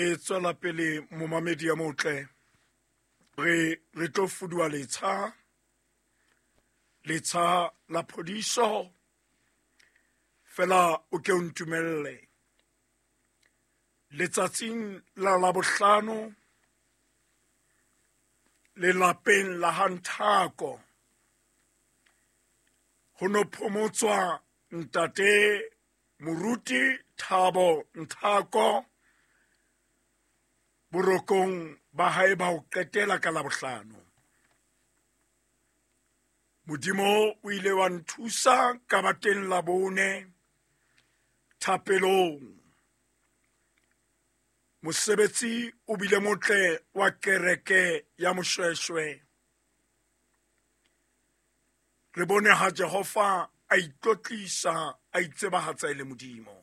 Re tswela pele momamedi ya motle. Re tlo fuduwa letsha, letsha la phodiso. Fela o ke o ntumelle. Letsatsing la Labohlano lelapeng la Hanthako ho no phomotswa ntate Moruti Thabo Nthako borokong ba hae ba ho qetela ka Labohlano. Modimo o ile wa nthusa ka ba teng Labone thapelong. Mosebetsi o bile motle wa kereke ya Moshweshwe. Re bone ha Jehova a itlotlisa, a itsebahatsa e le Modimo.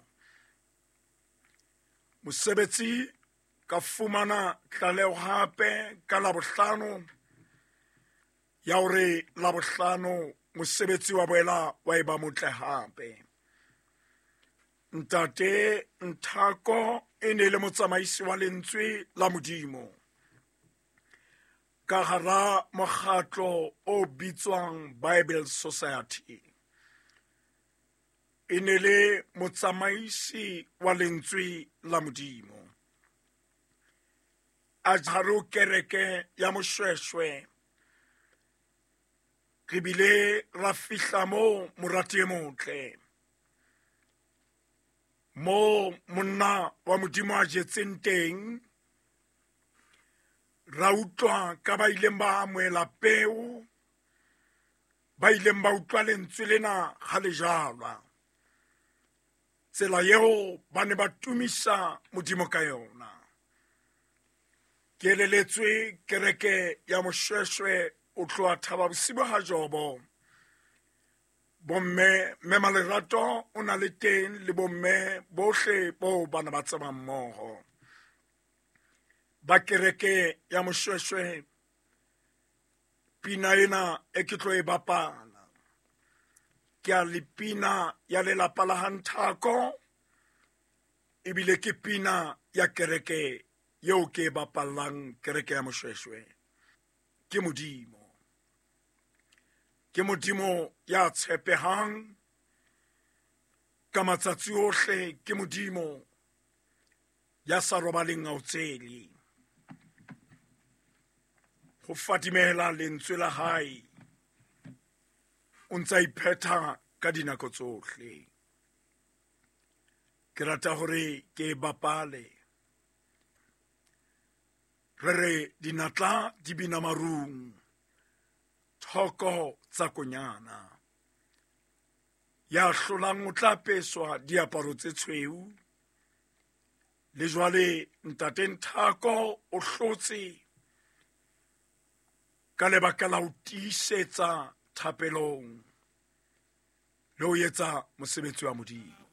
Mosebetsi ka fumana tlaleho hape ka Labohlano ya hore Labohlano mosebetsi wa boela wa eba motle hape. Ntate Nthako e ne le motsamaisi wa lentswe la Modimo ka hara mokgatlo o bitswang Bible Society. E ne le motsamaisi wa lentswe la Modimo. A jaro kereke ya Moshweshwe. Re bile ra fihla moo morati e motle. Mo monna wa Modimo a jetseng teng, ra utlwa ka ba ileng ba amohela peo, ba ileng ba utlwa lentswe lena ha le jalwa. Tsela eo ba ne ba tumisa Modimo ka yona. Ke eleletswe kereke ya Moshweshwe o tloha Thaba Bosibo ha Jobo. Bomme mme Malerato o na le teng le bomme bohle bo bana ba tsebang mmoho. Ba kereke ya Moshweshwe pina ena e ke tlo e bapala. Ke a le pina ya lelapa la Hanthako ebile ke pina ya kereke eo ke e bapallang kereke ya Moshweshwe. Ke Modimo. Ke Modimo ya tshepehang ka matsatsi ohle, ke Modimo ya sa robaleng a o tsele. Ho fadimela lentswe la hae, o ntsa iphetha ka dinako tsohle. Ke rata hore ke e bapale. Re re dinatla di bina marung, thoko tsa konyana. Ya hlolang o tla apeswa diaparo tse tshweu. Le jwale ntate Nthako o hlotse ka lebaka la ho tiisetsa thapelong le ho etsa mosebetsi wa Modimo.